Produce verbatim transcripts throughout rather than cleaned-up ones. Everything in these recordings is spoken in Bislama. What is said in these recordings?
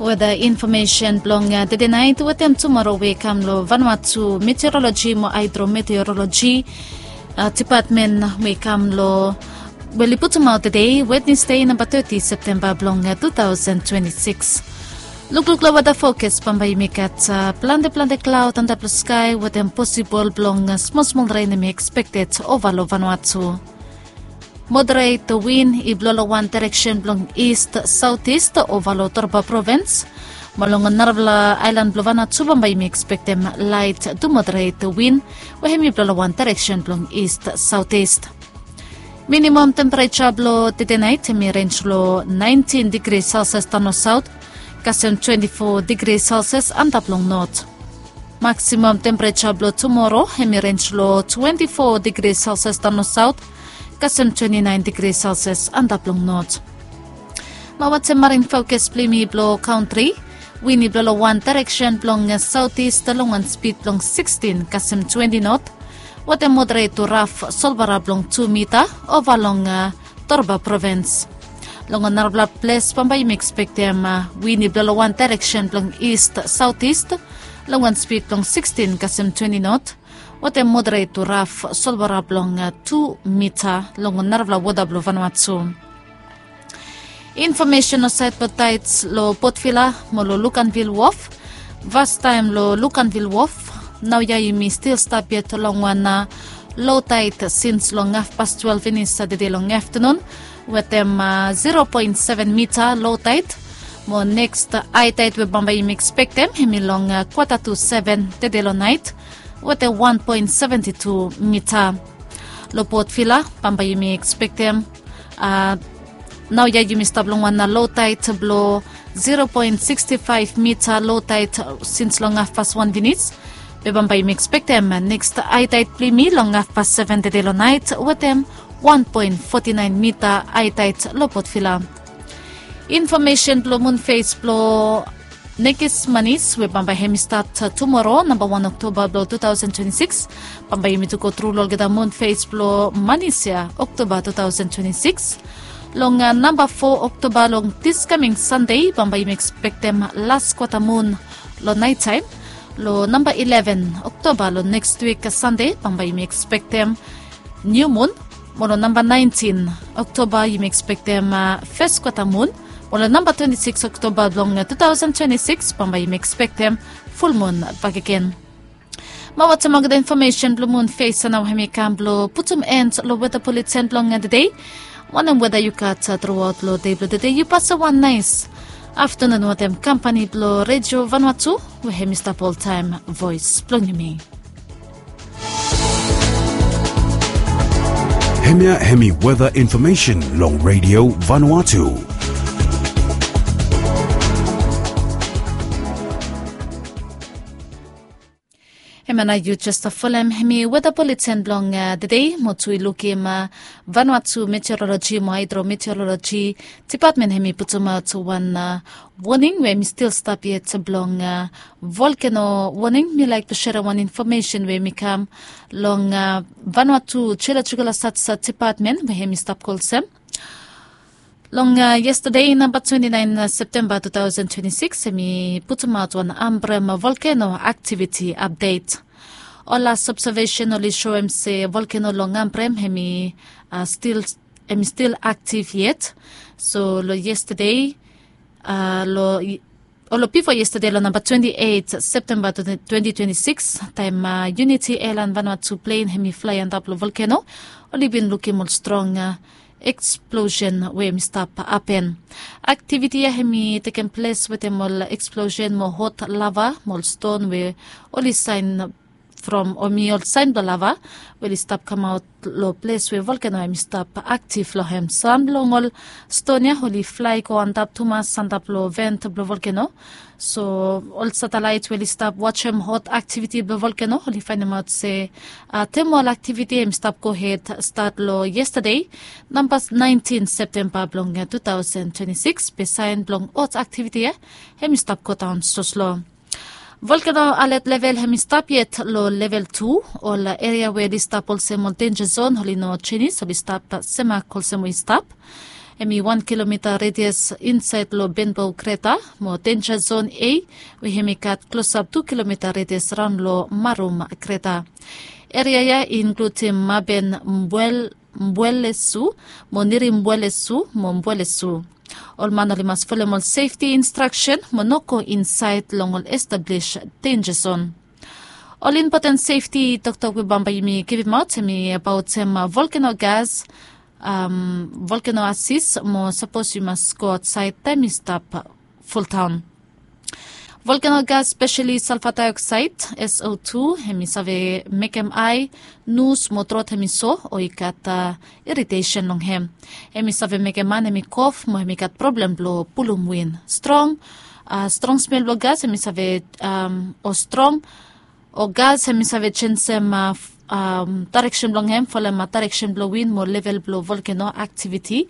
Weda infomesen blong tede nait wetem tumoro we i kam long Vanuatu Meteoroloji mo Haedrometeoroloji Dipatmen we i kam long, we oli putumaot tede, Wednesde namba teti Septemba blong tu taosen twenti sikis. Lukluk long weda fokas, bambae yumi gat plante plante klaod antap long skae wetem posibol blong smol smol ren hemi ekspekted ova long Vanuatu. Moderet win i blo long wan direksen blong ist saotis ova long Torba Provins. Mo long narafala aelan blong Vanuatu bambae yumi ekspektem laet tu moderet win we hemi blo long wan direksen blong ist saotis. Minimam tempereja blo tede nait hemi renj long naentin digri Celsius daon long saot, kasem twenti fo digri Celsius antap long not. Maksimam tempereja blo tumoro hemi renj long twenti fo digri Celsius daon long saot, kasem twenti naen digri Celsius antap long not. Mo watem marin fokas blo yumi blo kaontri. Win i blo long wan direksen blong saotis long wan spid blong sikstin kasem twenti not, wetem moderet tu raf solvara blong tu mita ova long Torba Provins. Long narafala ples bambae yumi ekspektem win i blo long wan direksen blong ist saotis long wan spid blong sikstin kasem twenti not, wetem moderet tu raf solvara blong tu mita long narafala wota blo Vanuatu. Infomesen long saed blo taets long Port Vila mo long Luganville Wharf. Fastaem long Luganville Wharf, naoia yumi stil stap yet long wan lo taet sins long hafpas twelef finis Satade long aftenun wetem zero poen seven mita lo taet. Mo neks hae taet we bambae yumi ekspektem hemi long kwata tu seven tede long naet wetem wan poen seventi tu mita. Long Port Vila bambae yumi ekspektem, naoia yumi stap long wan lo taet blo zero poen siksti faef mita lo taet sins long hafpas wan finis. Be bambae yumi ekspektem neks hae taet blo yumi long hafpas seven tede long naet wetem wan poen foti naen mita hae taet long Port Vila. Infomesen blo munfes blo Nekis Manis we bambae hemi stat tumoro namba wan Oktoba blo tu taosen twenti sikis. Bambae yumi tu gotru long olgeta munfes blo Manis ya Oktoba tu taosen twenti sikis. Long namba fo Oktoba long dis kaming Sande bambae yumi ekspektem las kwata mun long naetaem. Long namba ileven Oktoba long neks wik Sande bambae yumi ekspektem niu mun. Mo long namba naentin Oktoba yumi ekspektem fes kwata mun. Mo long namba twenti sikis Oktoba blong tu taosen twenti sikis bambae yumi ekspektem fulmun bakegen. Mo watem olgeta infomesen blong munfes ya nao hemi kam blong putum en long weta buleten blong tede. Wanem weta yu gat truaot long dei blong tede, yu pasem wan naes aftenun wetem kampani blong Redio Vanuatu we hemi stap oltaem voes blong yumi. Hemia hemi weta infomesen long Redio Vanuatu. Hemia nao yu jes folem hemi weta buleten blong tede mo tu yu lukim Vanuatu Meteoroloji mo Haedrometeoroloji Dipatmen hemi putumaot wan woning we hemi stil stap yet blong volkeno woning. Mi laek blong serem wan infomesen we hemi kam long Vanuatu Jiolojikol Statis Dipatmen we hemi stap go olsem. Long yestade namba twenti naen Septemba tu taosen twenti sikis hemi putumaot wan Ambrem volkeno aktiviti apdet. Ol las obsevesen oli soem se volkeno long Ambrem hemi stil aktiv yet. So long yestade, long o long bifo yestade long namba twenti eit Septemba twenti twenti sikis, taem Uniti Elan Vanuatu plen hemi flae antap long volkeno, oli bin lukim ol strong eksplosen we hemi stap hapen. Aktiviti ya hemi tekem ples wetem ol eksplosen mo hot lava mo ol ston we oli saen from o mi ol saen blong lava we oli stap kamaot long ples we volkeno hemi stap aktiv long hem. Sam blong ol ston ya oli flae go antap tumas antap long vent blong volkeno. So ol satelaet we oli stap wajem hot aktiviti blong volkeno oli faenemaot se tem ol aktiviti hemi stap gohed stat long yestade, namba naentin Septemba blong tu taosen twenti sikis, be saen blong hot aktiviti ya hemi stap godaon soslo. Volkeno alet level hemi stap yet long level tu. Ol eria we oli stap olsem ol denja zon oli no jenis, oli stap semak olsem we i stap. Hem i wan kilomita redias insaed long benbow kreta mo denja zon a, we hem i gat klosap tu kilomita redias raon long marum kreta. Eria ya i inkludim maben, mbuelesu, mo niri mbuelesu mo mbuelesu. Ol man oli mas folem ol sefti instraksen mo no go insaed long ol establis denja zon. Ol impoten sefti toktok we bambae yumi givimaot hem i abaotem volkeno gas, volkeno asis mo sapos yu mas go aotsaed taem i stap fultaon. Volkeno gas speseli salfa daeoksaed, so tu, hem i save mekem ae, nus mo trot hem i so o i gat iritesen long hem. Hem i save mekem man hem i kof mo hem i gat problem blong pulum win strong. Strong smel blong gas hem i save o strong o gas hem i save jensem daereksen blong hem folem daereksen blong win mo level blong volkeno aktiviti.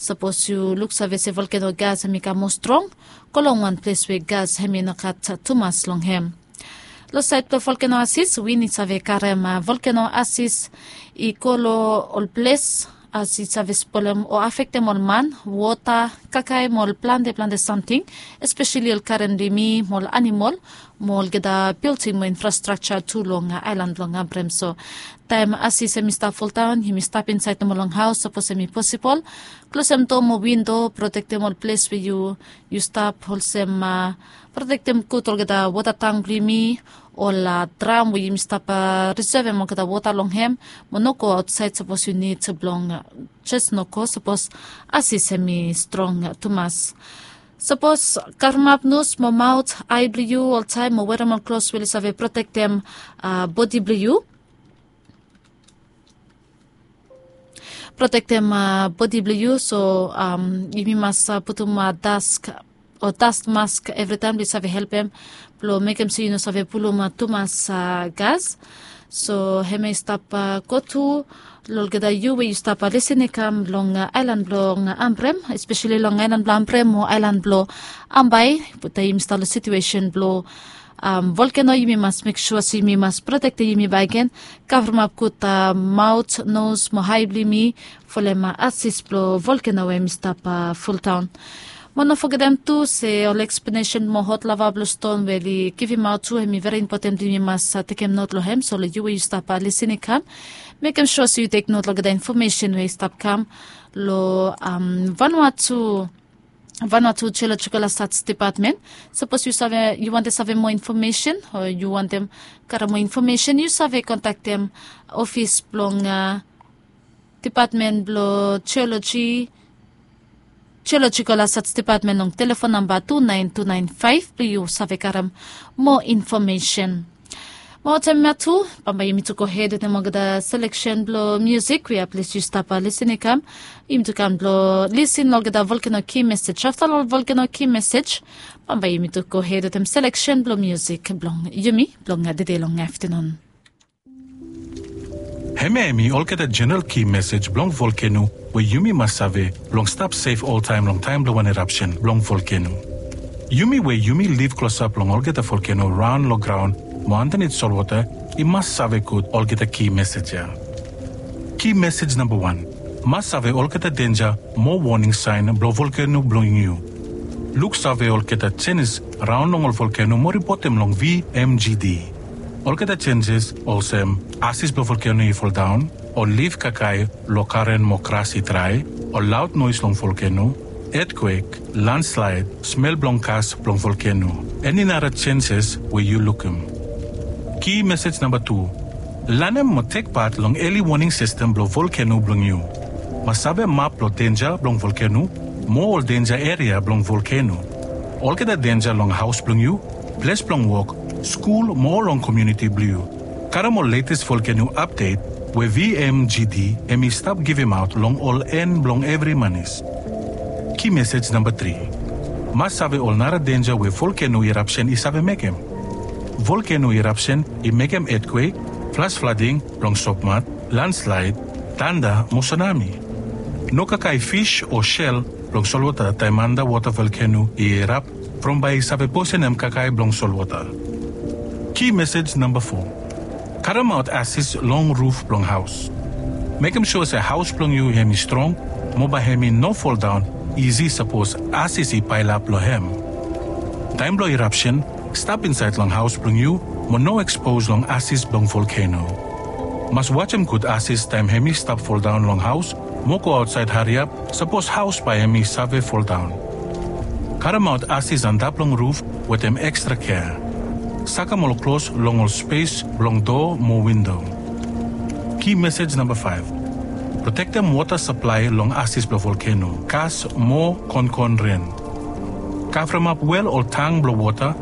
Sapos yu luksave se volkeno gas hem i kam moa strong, go long wan ples we gas hem i no gat tumas long hem. Long saed blong volkeno asis, win i save karem volkeno asis i go long ol ples as i save spolem o afektem ol man, wota, kakae mo ol plante plante samting, espeseli ol karen blong yumi mo ol animol mo olgeta bilting mo infrastrakja tu long aelan blong Ambrem. So taem asis hem i stap fuldaon, yumi stap insaed nomo long haos sapos hem i posibol. Klosem doa mo windo, protektem ol ples we yu stap, olsem protektem gud olgeta wota tang blong yumi, ol dram we yumi stap risevem olgeta wota long hem, mo no go aotsaed sapos yu nid blong jes no go sapos asis hem i strong tumas. Sapos kavremap nos mo maot, ae blong yu oltaem mo werem ol klos we oli save protektem bodi blong yu. Protektem bodi blong yu, so yumi mas putum dask o dast mask evritaem blong i save helpem blong mekem se yu no save pulum tumas gas. So hem ya i stap go tu long olgeta yu we yu stap lisin i kam long aelan blong Ambrem, espeseli long aelan blong Ambrem o aelan blong Ambae, taem yumi stap long situesen blong volkeno, yumi mas mek sua se yumi mas protektem yumi bakegen, kavremap gud maot, nos mo ae blong yumi folem asis blong volkeno we hem i stap fuldaon. Mo no fogetem tu se ol eksplanesen mo hot lava blong ston we oli givimaot tu hem i veri impoten blong yumi mas tekem not long hem. So long yu we yu stap lisin i kam, mekem sua se yu tek not long olgeta infomesen we i stap kam long Vanuatu Vanuatu Geological Research Department. Sapos yu save, yu wantem save moa infomesen o yu wantem karem moa infomesen, yu save kontaktem ofis blong Department blong Geology, Geological Research Department long telefon namba tu naen tu naen faef blong yu save karem moa infomesen. Mo taem ya tu, bambae yumi tu gohed wetem olgeta seleksen blong miusik we at least yu stap lisin i kam. Yumi tu kam blong lisin long olgeta volkeno ki mesej. Afta long ol volkeno ki mesej, bambae yumi tu gohed wetem seleksen blong miusik blong yumi blong tede long aftanun. Hemia hemi olgeta jeneral ki mesej blong volkeno we yumi mas save blong stap sef oltaem long taem blong wan erapsen blong volkeno. Yumi we yumi liv klosap long olgeta volkeno raon long graon mo andanit solwota i mas save gud olgeta ki mesej ya. Ki mesej namba wan, mas save olgeta denja mo woning saen blong volkeno blong yu. Luksave olgeta jenis raon long ol volkeno mo ripotem long V M G D. Olgeta jenjes olsem asis blong volkeno i foldaon, ol lif kakae long garen mo gras i drae, ol laod noes long volkeno, etkwek, landslaed, smel blong gas blong volkeno, eni nara jenjes we yu lukim. Ki mesej namba tu, lanem mo tek pat long eli woning sistem blong volkeno blong yu. Mas save map blong denja blong volkeno mo ol denja eria blong volkeno. Olgeta denja long haos blong yu, ples blong wok, skul mo long komuniti blong yu. Karem ol letes volkeno apdet we V M G D hemi stap givimaot long ol en blong evri manis. Ki mesej namba tri, mas save ol nara denja we volkeno irapsen i save mekem. Volkeno irapsen i mekem etkwek, flas flading blong sopmat, landslaed, tanda mo sunami. No kakae fis o sel blong solwota taem andawota volkeno i irap from bae i save posenem kakae blong solwota. Ki mesej namba fo, karemaot asis long ruf blong haos. Mekem sua se haos blong yu hemi strong mo bae hemi no foldaon isi sapos asis i paelap long hem. Taem blong irapsen, stap insaed long haos blong yu mo no ekspos long asis blong volkeno. Mas wajem gud asis taem hemi stap foldaon long haos mo go aotsaed hariap sapos haos bae hemi save foldaon. Karemaot asis antap long ruf wetem ekstra kea. Sakem ol klos long ol spes blong doa mo windo. Ki mesej namba faef. Protektem wota saplae long asis blong volkeno, gas mo konkon ren. Kavremap wel ol tang blong wota